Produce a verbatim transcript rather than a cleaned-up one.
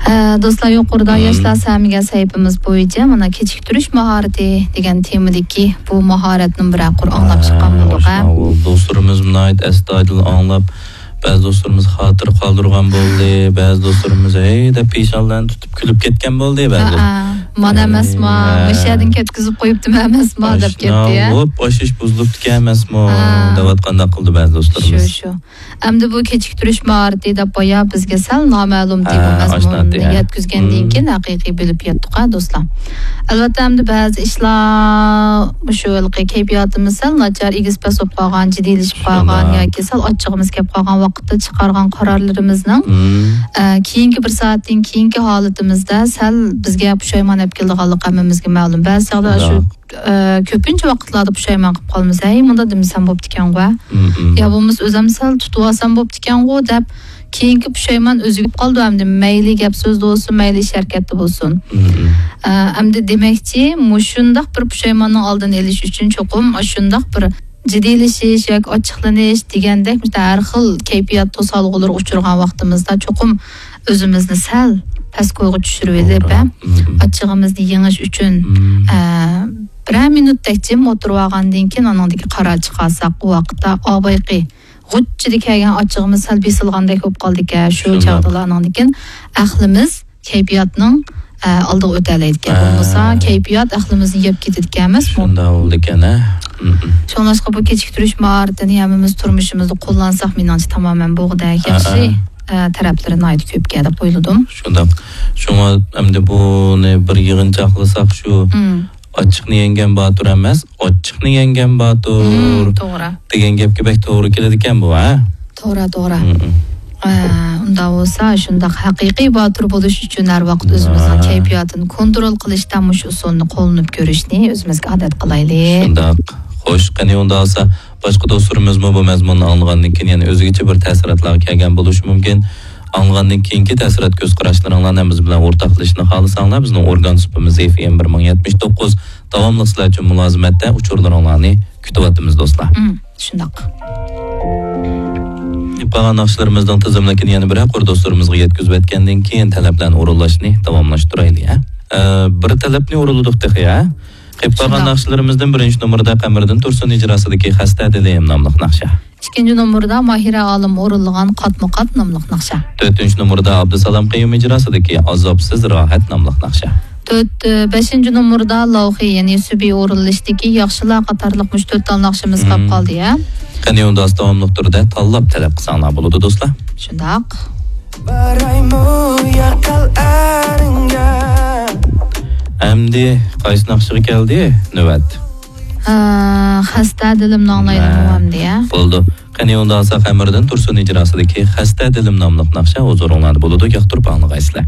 ئە، دوستلار، يۇقىرىدا مم. ياشلار سەمىگە سەھىپىمىز بويىچە مانا كېچىكتۈرۈش ماھارىتى دېگەن تېمىدىكى بۇ ماھارەتنى بىرەر قۇر ئاڭلاپ چىققان بولدۇق، ھە؟ دوستلىرىمىز ناھايىتى ئەستايىدىل ئاڭلاپ، بەزى دوستلىرىمىز خاتىرە قالدۇرغان بولدى، بەزى دوستلىرىمىز ھەي دەپ پېشانىلارنى تۇتۇپ كۈلۈپ كەتكەن بولدى، بەزى ھە، دوست-، ھە، مانا ئەمەسما، ھە. مۇشۇ يەردىن كەتكۈزۈپ قويۇپتىمۇ ئەمەسما دەپ كەتتى، ھە؟ ۋوپ، ئاشىش بۇزۇلۇپتىكەن ئەمەسمۇ ھە. دەۋاتقانداق قىلدى بەزى دوستلىرىمىز. شۇ، شۇ. ئەمدى بۇ كېچىكتۈرۈش ماھارىتى دەپ بايا بىزگە سەل نامەلۇم ھە، تېما مەزمۇنىنى ئاشناتتى، ھە. يەتكۈزگەندىن مم. كېيىن ھەقىقىي بىلىپ يەتتۇق، ھە، دوستلار. ئەلۋەتتە، ئەمدى بەزى ئىشلار مۇشۇ ھېلىقى كەيپىياتىمىز سەل ناچار، ئېگىز-پەس بولۇپ قالغان، جىددىيلىشىپ قالغان شۇنداق. ياكى سەل ئاچچىقىمىز كەپ قالغان ۋاقىتتا چىقارغان قارارلىرىمىزنىڭ، مم. ئە، كېيىنكى بىر سائەتتىن كېيىنكى ھالىتىمىزدە سەل بىزگە پۇشايمان ئەپ كېلىدىغانلىقى ھەممىمىزگە مەلۇم. بەزى چاغدا شۇ شۇنداق. ئە، كۆپىنچە ۋاقىتلاردا پۇشايمان قىلىپ قالىمىز. ھەي، مۇنداق دېمىسەم بوپتىكەنغۇ، ھە؟ مم، مم. يا بولمىسا ئۆزۈم سەل تۇتۇۋالسام بوپتىكەنغۇ دەپ، كېيىنكى پۇشايمان ئۆزىگە قالىدۇ ئەمدى. مەيلى گەپ سۆزدە بولسۇن، مەيلى ئىش ھەرىكەتتە بولسۇن. مم، مم. ئە، ئەمدى دېمەكچى، مۇشۇنداق بىر پۇشايماننىڭ ئالدىنى ئېلىش ئۈچۈن چوقۇم ئاشۇنداق بىر جىددىيلىشىش ياكى ئاچچىقلىنىش دېگەندەك، مۇشۇنداق ھەر خىل كەيپىيات توسالغۇلىرىغا ئۇچرىغان ۋاقتىمىزدا چوقۇم ئۆزىمىزنى سەل پەس كويغا چۈشۈرۈۋېلىپ، توغرا. ھە، مم. ئاچچىقىمىزنى يېڭىش ئۈچۈن، مم. ئە، بىرەر مىنۇتتەك جىم ئولتۇرۇۋالغاندىن كېيىن، ئانىڭدىن كېيىن قارار چىقارساق، ئۇ ۋاقىتتا ئا بايىقى غۇچچىدە كەلگەن ئاچچىقىمىز سەل بېسىلغاندەك بولۇپ قالدىكەن. شۇ شۇنداق. چاغدىلا ئانىڭدىن كېيىن ئەقلىمىز كەيپىياتنىڭ، ئە، ئالدىغا ئۆتەلەيدىكەن. ھە. بولمىسا كەيپىيات ئەقلىمىزنى يەپ كېتىدىكەنمىسمۇ؟ شۇنداق بولىدىكەن، ھە. مم. شۇڭلاشقا بۇ كېچىكتۈرۈش ماھارىتىنى ھەممىمىز تۇرمۇشىمىزدا قوللانساق، مېنىڭچە تامامەن بولغۇدەك ھە، ياخشى، ھە. ئە، تەرەپلىرى ناھايىتى كۆپكەن دەپ ئويلىدىم. شۇنداق. شۇڭا ئەمدى بۇنى بىر يىغىنچاقلىساق، شۇ مم. ئاچچىقنى يەڭگەن باتۇر ئەمەس، ئاچچىقنى يەڭگەن باتۇر مم، توغرا. دېگەن گەپكە بەك توغرا كېلىدىكەن بۇ، ھە؟ توغرا، توغرا. مم. ئە، ئۇنداق بولسا، شۇنداق ھەقىقىي باتۇر بولۇش ئۈچۈن ھەر ۋاقىت ئۆزىمىزنىڭ ھە. كەيپىياتىنى كونترول قىلىشتا مۇشۇ ئۇسۇلنى قوللىنىپ كۆرۈشنى ئۆزىمىزگە ئادەت قىلايلى. شۇنداق. خوش، قېنى ئۇنداق بولسا، باشقا دوستلىرىمىزمۇ بۇ مەزمۇننى ئاڭلىغاندىن كېيىن يەنە ئۆزگىچە بىر تەسىراتلارغا كەلگەن بولۇشى مۇمكىن. ئاڭلىغاندىن كېيىنكى تەسىرات كۆز قاراشلىرىڭلارنى ھەممىمىز بىلەن ئورتاقلىشىشنى خالىساڭلار، بىزنىڭ ئورگان سۇپىمىز ئېف ئېم بىر مىڭ يەتمىش توققۇز داۋاملىق سىلەر ئۈچۈن مۇلازىمەتتە ئۇچۇرلىرىڭلارنى كۈتۈۋاتىمىز، دوستلار. مم، شۇنداق. قالغان ناخشىلىرىمىزنىڭ تىزىملىكىنى يەنە بىرەر قۇر دوستلىرىمىزغا يەتكۈزۈۋەتكەندىن كېيىن، تەلەپلەرنى ئورۇنلاشنى داۋاملاشتۇرايلى، ھە؟ ئە، بىر تەلەپنى ئورۇنلىدۇق تېخى، ھە؟ قېلىپ قالغان شۇنداق. ناخشىلىرىمىزدىن بىرىنچى نومۇردا قەمەردىن تۇرسۇن ئىجراسىدىكى خەستە دىلىم ناملىق ناخشا. ئىككىنچى نومۇردا ماھىرە ئالىم ئورۇنلىغان قاتمۇ قات ناملىق ناخشا. تۆتىنچى نومۇردا ئابدۇسالام قېيۇم ئىجراسىدىكى ئازابسىز راھەت ناملىق ناخشا. تۆت، بەشىنچى نومۇردا لاۋخى، يەنى سۈبى ئورۇنلىشىدىكى ياخشىلار قاتارلىق مۇشۇ تۆت تال ناخشىمىز قاپ مم. قالدى، ھە؟ قېنى ئۇنداق داۋاملىق تۈردە تاللاپ تەلەپ قىلساڭلار بولىدۇ، دوستلار. شۇنداق. بارايمۇ ياقال ئەرىڭگە. ئەمدى قايسى ناخشىغا كەلدى نۆۋەت؟ ئە، خەستە دىلىمنى ئاڭلايلىمۇ مە. ئەمدى، ھە؟ بولدى. قېنى ئۇنداق بولسا قەمەردىن تۇرسۇن ئىجراسىدىكى خەستە دىلىم ناملىق ناخشا ھۇزۇرۇڭلاردا بولىدۇ، ياقتۇرۇپ ئاڭلىغايسىلەر.